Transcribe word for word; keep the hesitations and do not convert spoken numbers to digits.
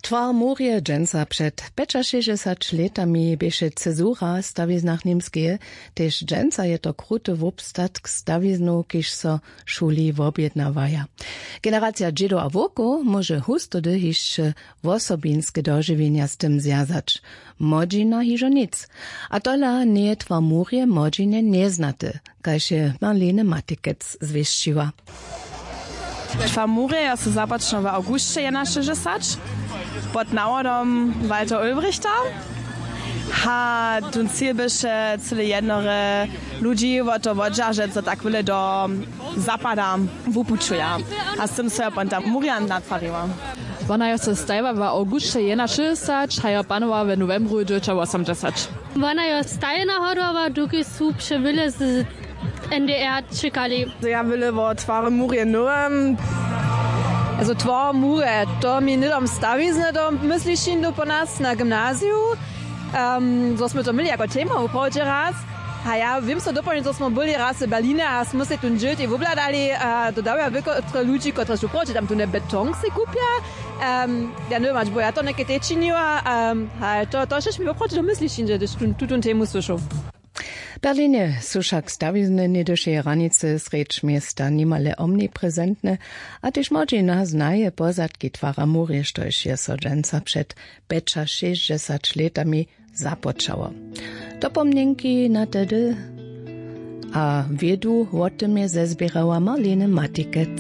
Twar murje dźensa před pjećašěsćdźesać lětami běše cezura w stawiznach němskeje. Tež dźensa je to kruty wobstatk stawiznow, kiž so w šuli wobjednawaja. Generacija dźědow a wowkow móže hustody hišće wosobinske dožiwjenja z tym zwjazać. Młodźina hižo nic. A tola njeje twar murje młodźinje njeznaty, kaž je Marlene Matikec zwěsćiła. Twar murje jo so započnał w awgusće jedenašěsćdźesać pod nawodom Walter Ulbrichta. A tón cil běše cyle jednore ludźi wo to wodźeržeć, zo tak wyle do zapada wupućuja. A z tym so jo ponta murja natwariła. Wona jo so stajła w awgusće jedenašěsćdźesać a jo panowa w nowembru dźewjećawosomdźesać. Wona jo stajna hodowała, dokelž su přewyle z N D R čekali. Ja wyle wo twary murje nowem. Also twar murje, to mi hnydom stawizny do mysli šindu po nas na gymnaziju. Um, zo smy to měli jako tema wuprawdźe raz. A ja wěm so dopołdnje, zo smo byli raz w Berlina a smo se tón dźěl tej wobhladali a to dawja wěkotre ludźi, kotrež wuprawdźe tam tón beton se kupja. Um, ja nowem hač bo ja to něke tej činiła. Um, a to, to šež mi woprawdźe do mysli šindu, hdyž tu, tutón temu słyšał. W Berlinje su wšak stawizny něhdyšeje hranicy srjedź města nimale omniprezentne, a tež młodźina znaje pozadki twara murje, štož je so dźensa před pjećašěsćdźesać lětami započało. Dopomnjenki na tehdy a wědu wo tym je zezběrała Marlene Matikec.